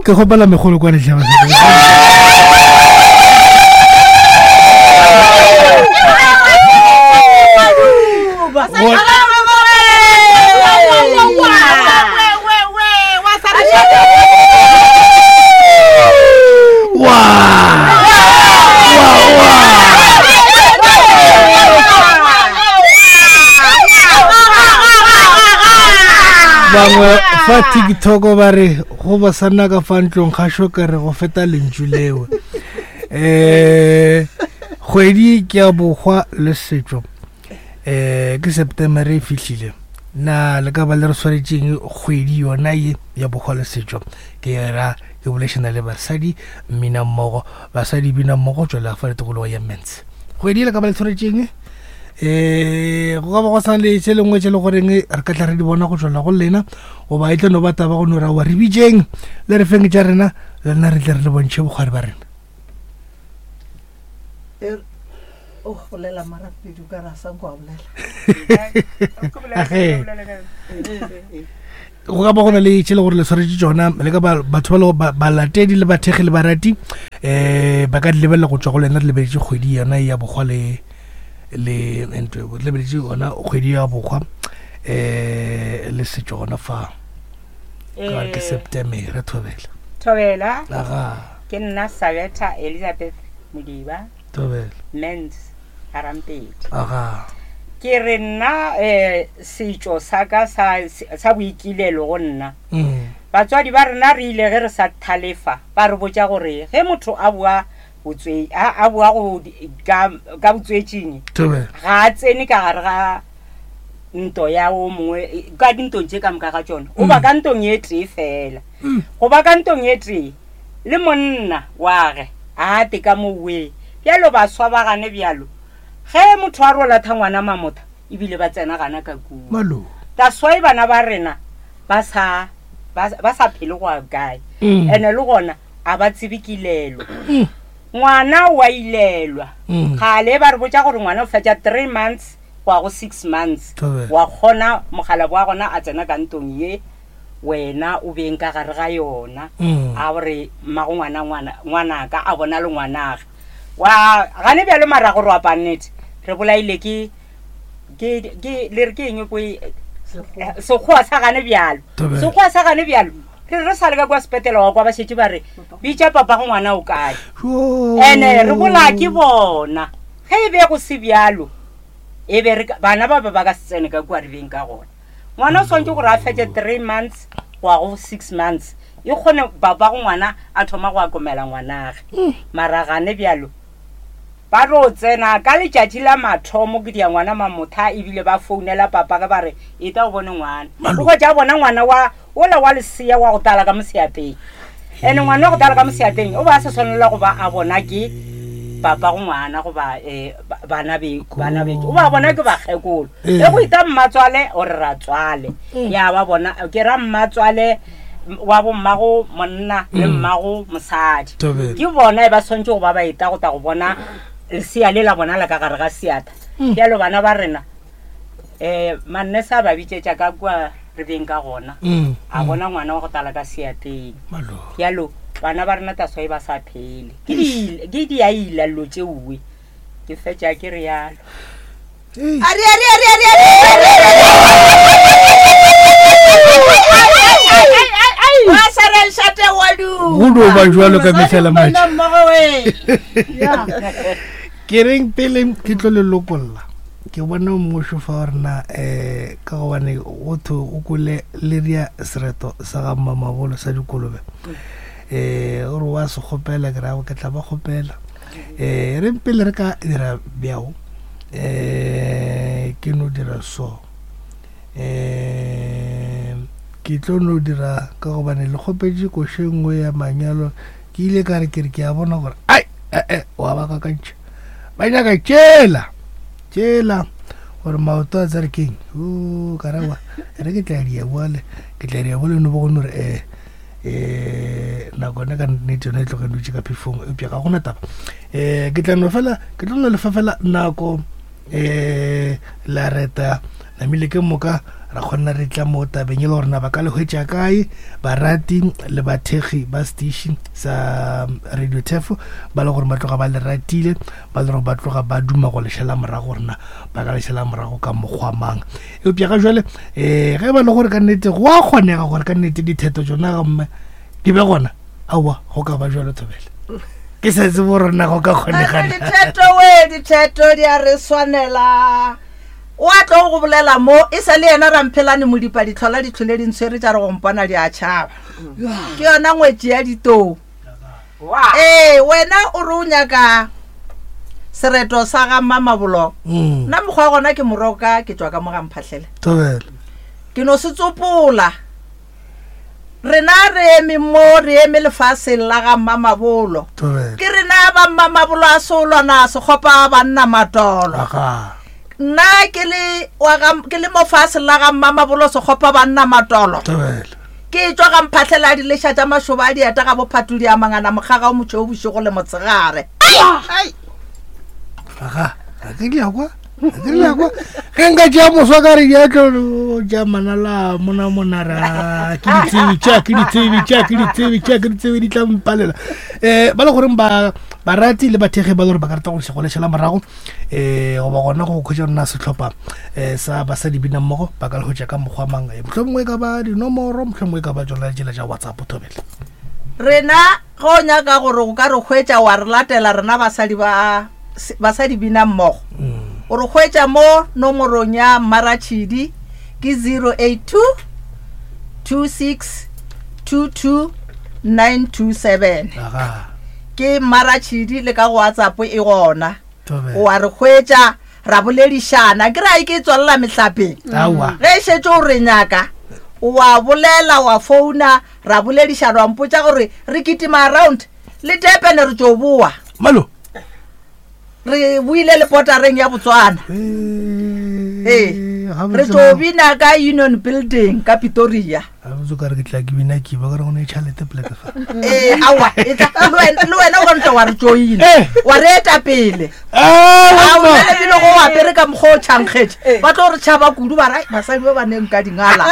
Ke kgopela megolo kwa letlha bangwe fa tiktok ba re go ba sa nna ka fa ntlong ga sho ka re go feta lentšu leo um kgwedi ke ya bokgwa le setšo um ke september e fihlile na le ka ba le re swanetšeng kgwedi yona ye ya bokgwa le setšo ke ra ke bolešana le basadi mmina mmogo basadi bina mmogo tswela fa le tikologo ya mens kgwedi le ka ba le tshwanetšeng um go ka ba go sa le tše lengwe tše le goreng re ka tla re di bona go tswela go lena goba e tlo no ba taba go no ra wa re bitšeng le re feng tša rena le rena re tle re le bontšhe bokgwari ba rena e o bolela marapedi o ka ra sa nko a bolela go ka ba go na le tše le gore le swaretse tšona le ka batho ba le balatedi le bathekgi le barati um ba ka di lebelela go tswa go lena re lebeletše kgwedi yona ya bokgwa le le ntwe re lebeletše yona kgwedi ya bokgwa um le setšo gona fa ka ke september re thobela thobela aga ke nna sabetha elizabeth modiba thobela mens Rampedi. Aga. Ke re nna um setšo sa ka sa, sa boikilelo go nna. Mm. Batswadi ba rena re ile ge re sa thalefa ba re botša gore ge motho a boa botswe a, a boa go ka, ka botswetšing Thobela. ga a tsene ka gare ga nto ya o mongwe ka dintong tše ka moka ga tšona o ba ka ntong e tee fela go ba ka ntong e tee le monna wage a ate ka mo we. Bjalo baswa ba gane bjalo ge motho a ro latha ngwana mamotha ebile ba tsena gana ka kua. Malo. That's why bana ba rena ba sa ba, ba sa phele go ya kae. Mm. Ene le gona a ba tsebe kilelo. Mm. Ngwana wa ilelwa. Mm. Kgale ba re botša gore ngwana o fetša 3 months go ya go 6 months. Thobela. Wa kgona mogala wa gona a tsena ka ntong ye wena o beng ka gare ga yona mm. a gore mmago ngwana ngwana ngwanaka a bona le ngwanage wa gane bjalo mara gore wa pannete re bolaile ke ke ke le re ke eng ko e, sekgowa sa gane bjalo sekgowa sa gane bjalo re re sa le ka kwa sepetela wa kwa ba šetše ba re bitša papa go ngwana o kae ene re bolaya ke bona ge e be go se bjalo e be re bana ba ba ba ka se tsene ka kua re beng ka gona Ngwana o swanetše gore a fetše 3 months go ya go 6 months e kgone baba go ngwana a thoma go akomela ngwanage. Mara gane bjalo ba tlo tsena ka letšatši la mathomo ke dia ngwana mamotha ebile ba founela papa ge ba re eta o bone ngwana. O hwetša a bona ngwana wa ola wa lesea wa go tala ka moseateng. Ene ngwana wa go tala ka moseateng o ba a sa swanela go ba a bona ke papa go ngwana goba um bana be bana be o ba bona ke bakgekolo. Ee. Ge go ita mmatswale o re ratswale ya ba bona ke ra mmatswale wa bo mmago monna le mmago mosadi. Thobela. Ke bona e ba swanetše go ba ba eta go tla go bona lesea le la bona la ka gare ga seatla. Bjalo bana ba rena um mannese a ba bitšetša ka kua re beng ka gona a bona ngwana wa go tala ka seateng. Bjalo bana ba rena taswa e ba sa phele ke di ke diaila dilo tšeoe ke fetša ke re yalo. Ari, ari, ari, ari, ari. Wa sara lešate wa du. Go no ba jwalo ka mehla le matšatši. Monna mmogo we. Yeah. Ke reng pele ke tlo le lokolla ke bona mmušo fa gore na um ka gobane go thwe o kwele le ria sereto sa ga mmamabolo sa dikolobe um gore wa se kgopela ke ra ke tla ba kgopela um reng pele re ka dira bjao um ke no dira so um ke tlo no dira ka gobane le kgopetše koše nngwe ya manyalo ke ile ka re ke re ke a bona gore ai ee wa ba kakantšha ba nyaka tšela tšela gore maoto a tsere keng o karawa re ke tla dia boale ke tla dia boale no bo go no re eh eh nako ne ka nnete yone e tloge dutše ka phefong eupša ga gona taba um ke tla no fela ke tlo no lefa fela nako um la reta namile ke moka Ra kgona re tla mo tabeng e le gore na ba ka le hwetša kae barati le bathekgi ba station sa Radio Tefo ba le gore ba tloga ba le ratile, ba le gore ba tloga ba duma go le šala morago gore na ba ka le šala morago ka mokgwa mang. Eupša ga jwale um ge ba le gore ka nnete go a kgonega gore ka nnete ditheto tšona gomme di be gona, aowa go ka ba jwalo thobela. Ke sa tsebe gore na go ka kgonega na. Ditheto we, ditheto di a re swanela. O a tlo go bolela mo, e sa le yena Ramphelane Modipa ditlhola di tlhole di ntshwere tša re go mpona di a tšhaba. Ke yona ngwetši ya ditou. Ee, wena o re o nyaka sereto sa ga Mmamabolo. Nna mokgwa wa gona ke moroka ke tšwa ka mo ga Mphahlele. Thobela. Ke no se tsopola. Rena re eme mo, re eme lefaseng la ga Mmamabolo. Thobela. Ke rena ba Mmamabolo a Seolwana Sekgopa banna Matolo. Aga. Nna ke le wa ga, ke le mo faseng la ga Mmamabolo Sekgopa banna Matolo. Thobela. Ke tšwa ga Mphahlele a dileša tša mašoba a dieta ga bophatodi a mangana mokgaga o motšhweu bošego le motshegare. Ai! Aga, ga ke di a kwa. Ga ke di a kwa. Ge nka tšea moswa ka re di a tlo ja manala mona mona ra ke di tsebe tša ke di tsebe tša ke di tsebe tša ke di tsebe di tla mpalela. Eh ba le goreng ba barati le bathekgi ba le gore ba ka rata go se go lešela morago eh goba gona go khwetša rona sehlopha eh sa basadi bina mmogo ba ka le hwetša ka mokgwa mang eh, mohlomongwe e ka ba dinomoro mohlomongwe e ka ba tšona ditsela tša WhatsApp thobela. Rena ge o nyaka gore o ka re hwetša wa re latela rena basadi ba basadi bina mmogo o re hwetša mo nomorong ya Mmaratšhidi ke 082 26 22 927. Aga. Ke Mmaratšhidi le ka go WhatsApp e gona. Thobela. O a re hwetša ra boledišana ke ra e ke tswalela mehlapeng. Aowa. Ge e šetše o re nyaka o a bolela wa founa ra boledišana wa mpotša gore re kitima around le Durban re tšo boa. Malo. Re boile le potareng ya Botswana. Ee, Ee, re tšo bina ka Union Building ka Pretoria. Gabotse o ka re ke tla ke bina ke ba ka re go ne tšhalete poleke fa. Ee, aowa, e tla, le wena, le wena o ka ntwa wa re joina. Eh. Wa re eta pele. Ah, A o mma. ebile go apere ka mokgwa o tšhankgetše. Ba tlo re tšhaba kudu ba re, "Ai, basadi ba ba neng ka dingala."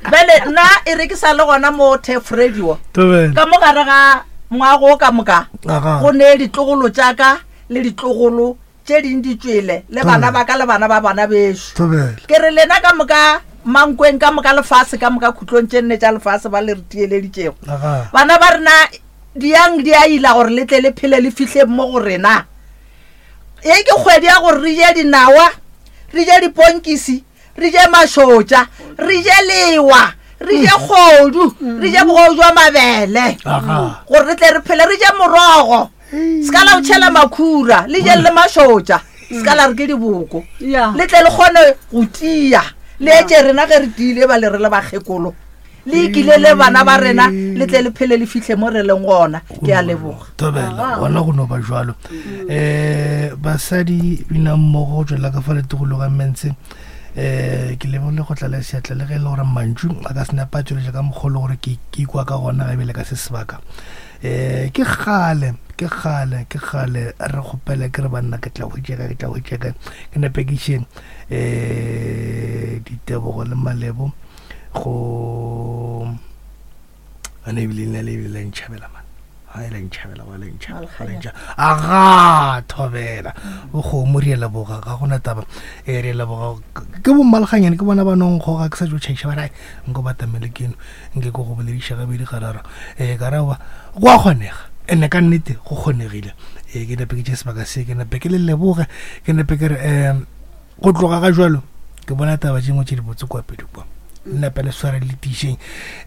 Bjale nna e re ke sa le gona mo Turf Radio. Thobela. Ka mo gare ga moago o ka moka Aga. go ne ditlogolo tša ka le ditlogolo tše ding di tšwele le bana ba ka le bana ba bana bešo. Ke re lena ka moka mankweng ka moka lefase ka moka khutlong tše nne tša lefase ba le re tieleditšego. Bana ba rena diyang di a ila gore le tle le phele le fihle mo go rena. Ye ke kgwedi ya gore re je dinawa, re je diponkisi, re je mašotša, re je lewa, re je kgodu, re je bogodu jwa mabele. Gore re tle re phele, re je morogo. Se ka la o tšhela makhura, le je le mašotša. Se ka la re ke diboko. Le tle le kgone go tia. Le etše rena ge re tiile ba le re le bakgekolo. Le ikile le bana ba rena, le tle le phele le fihle mo re leng gona. Ke a leboga. Thobela, gona go no ba jwalo. Basadi bina mmogo go tšwela ka fa letogolo ga Mense. Ke lebogile go tlala seatla le ge e le gore mantšu a ka se nepa tšweletša ka mokgwa o le gore ke ikwa ka gona ga ebile ka se sebaka. Ke kgale, ke kgale, ke kgale re kgopela ke re banna ke tla hwetša kae, ke tla hwetša kae. Ke nepe ke iše ditebogo le malebo go ane ebile le le ebile la ntšhabela man. Ha e la ntšhabela, wa la ntšhabela, wa la ntšhabela. Aga, thobela. O kgomo re a leboga, ga gona taba. Re a leboga. Ke bo mmalganyane, ke bona ba nong goga ke sa tšo tšhaiša ba re, ai, nko ba tamele keno, nke ke go bolediša gabedi gararo. Ka ra wa, go a kgonega. Ene ka nnete go kgonegile. Ke nepe ke tše sebaka se, ke nepe ke le leboge, ke nepe ke re, go tloga ga jwalo ke bona taba tše nngwe tše dibotse kwa pele kwa. Nnape le sware le tišeng.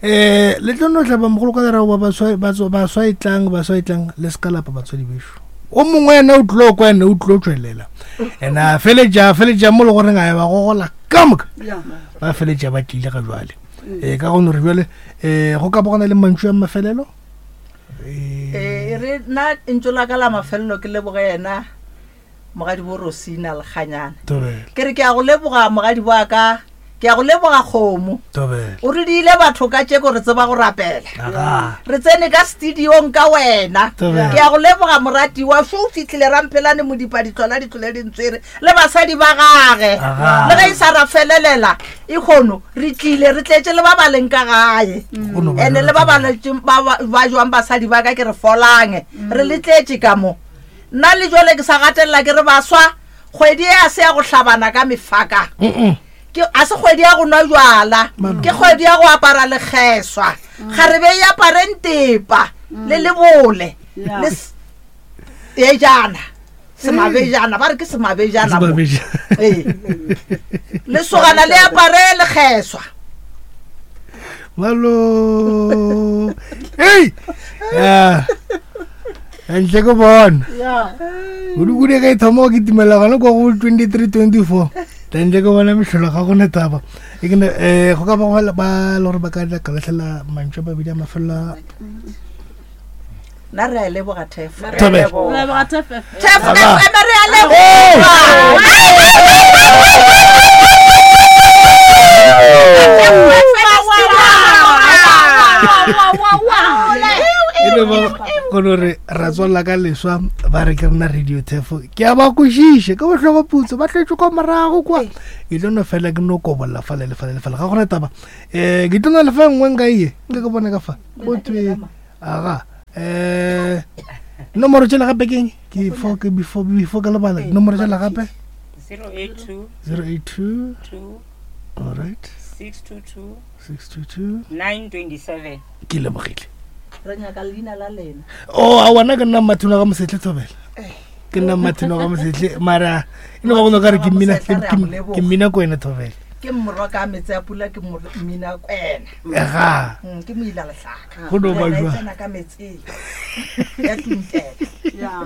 Le tlo no hlaba mogolo ka lerago ba baswa, ba baswa e tlang, baswa e tlang, le se ka lapa batswadi bešo. O mongwe yena o tlo kwa, yena o tlo tšwelela. Ena a feletša, feletša mo le goreng a ba gogola ka moka. Ba feletša ba tlile ga jwale. Ka go no re jwale, go ka ba gona le mantšu a mafelelo? E re nna ntšo la ka la mafelelo ke leboge yena mogadi bo Rosina Lekganyane. Thobela. Ke re ke a go leboga mogadi wa ka. Ke a go leboga kgomo. Thobela. O re diile batho ka tšeko re tseba go rapela. Aga. Re tsene ka studiong ka wena. Thobela. Ke a go leboga moratiwa šo o fihlile Ramphelane Modipa Ditlola Ditlole Dintswere le basadi ba gage. Aga. Le ge e sa ra felelela e kgono re tlile re tletše le ba ba leng ka gae. Go no ba Ene jwalo le ba ba Thobela. letšeng ba ba ba jwang basadi ba ka ke re folang. Re le tletše ka mo. Nna le jwale ke sa gatelela ke re baswa kgwedi e a se ya go hlabana ka mefaka. Mm-mm. Ke a se kgwedi ya go nwa jwala, ke kgwedi ya go apara lekgeswa. Kgarebe e apare ntepa le lebole le ejana semabejana ba re ke semabejana mo. Semabejana. Ee. Lesogana le apare lekgeswa. Malo. Hey! Yeah. Ntle ke bona. Kudu-kudu ge e thoma go kitimela gona kwa go 23 24. Ntle ke bona mehlolo ga gona taba. E ke ne eh go ka ba go ba le gore ba ka ka lahlela mantšu a mabedi a mafelelo a Nna re a e leboga Thef. Thobela. Re leboga Thef FM. Thef Aba. FM re a leboga. E le ba kono re ra tswalla ka leswa ba re ke rena radio thefo ke a ba kwešiše ke bohloko putso ba tletše kwa morago kwa ke tlo no fela ke no kobolla fale le fale le fale ga gona taba um ke tlo no lefa nngwe nka iye nka ke bone ka fa go thwe aga um nomoro tšela gape keng ke fo ke before before ke lebala nomoro tšela gape 082 082 2 all right 622 622 927. Ke lebogile. Re nyaka leina la lena. O a wena ke nna Mmathino ga Mosetle Thobela. Ke nna Mmathino ga Mosetle mara e no ba go no ka re ke mmina ke mmina kwena Thobela. Ke morwa ka metse ya pula ke mmina kwena. Ga. Ke moila lehlaka. Go no ba jwa. Tsena ka metseng. Ya tuntela. Yeah.